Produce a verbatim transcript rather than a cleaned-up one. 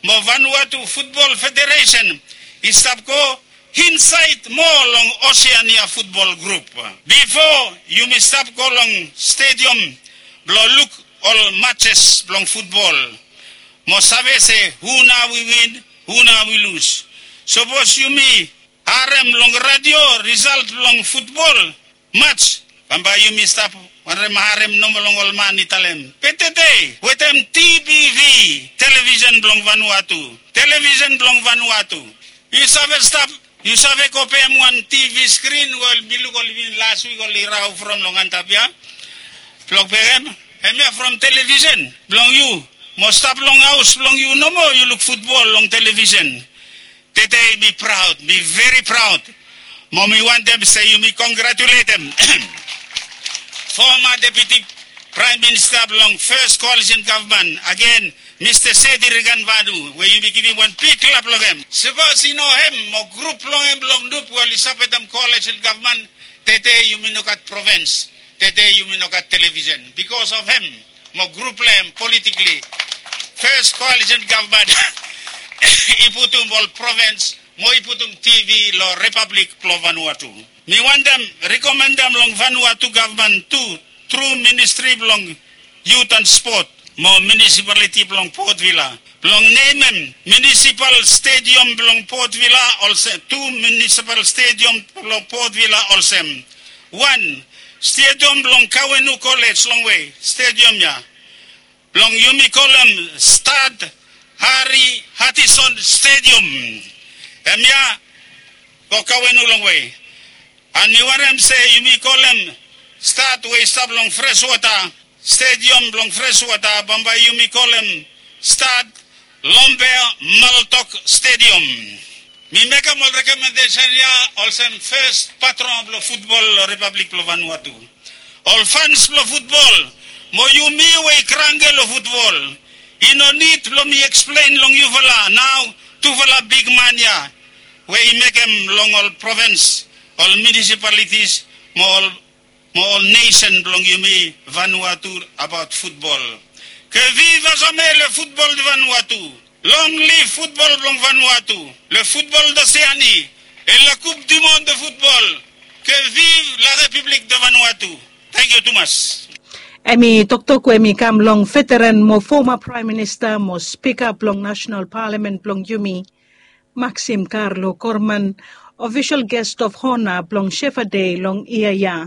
Mo Vanuatu Futbol Federesen i stap go insaed moa long Oseania Futbol Grup. Bifo yumi stap go long stediam blong luk ol matses blong futbol mo save se hu nao i win, hu nao i lus. Sapos yumi harem long radio risalt blong futbol mats, bambae yumi stap wantem harem nomo long ol man i talem. Be tede wetem T B V, televisen blong Vanuatu, televisen blong Vanuatu, yu save stap, yu save go pem wan T V skrin we ol mi luk ol i win las wik ol i rau from long antap ya blong pem hemia from televisen blong yu mo stap long haos blong yu nomo yu luk futbol long televisen. Tede mi praod, mi veri praod. Mo mi wantem se yumi kongratuletem foma deputi praem minista blong fes koalisen gavman agen, Mista Sedi Riganvanu, we yumi givim wan bik klap long hem. Sapos i no hem mo grup blong hem blong nup we oli sapotem koalisen gavman, tede yumi no gat provens, tede yumi no gat televisen bikos of hem mo grup blong hem politikli. Fes koalisen gavman i putum ol provens mo i putum T V long repablik blong Vanuatu. Mi wantem rekomendem long Vanuatu gavman tu tru ministri blong yut an spot mo munisipaliti blong Port Vila blong nemem munisipal stediam blong Port Vila olsem, tu munisipal stediam blong Port Vila olsem. Wan, stediam blong Kawenu Kolej longwe, stediam ya blong yumi kolem Stad Hari Hatison Stediam. Hemia go Kawenu longwe. An mi wantem se yumi kolem stad we i stap long freswata, stediam blong freswata, bambae yumi kolem stad Lombe Maltok Stediam. Mi mekem ol rekomendesen ya olsem fes patron blong futbol long repablik blong Vanuatu. Ol fans blong futbol mo yumi we i kranke long futbol, i no nid blong mi eksplen long yufala nao tufala bigman ya we i mekem long ol provens, ol munisipalitis mo ol mo ol nesen blong yumi Vanuatu abaot futbol. Que viva Samuel e futbol de Vanuatu. Long liv futbol blong Vanuatu. Le futbol de Seani e la kup dimon de futbol. Que viva la Republik de Vanuatu. Tangkiu tumas. Hemi toktok we hemi kam long veteran mo foma praem minista mo spika blong nasenal palamen blong yumi, Maxim Carlo Corman, ofisol gest of hona blong Shefa Dei long yia ya.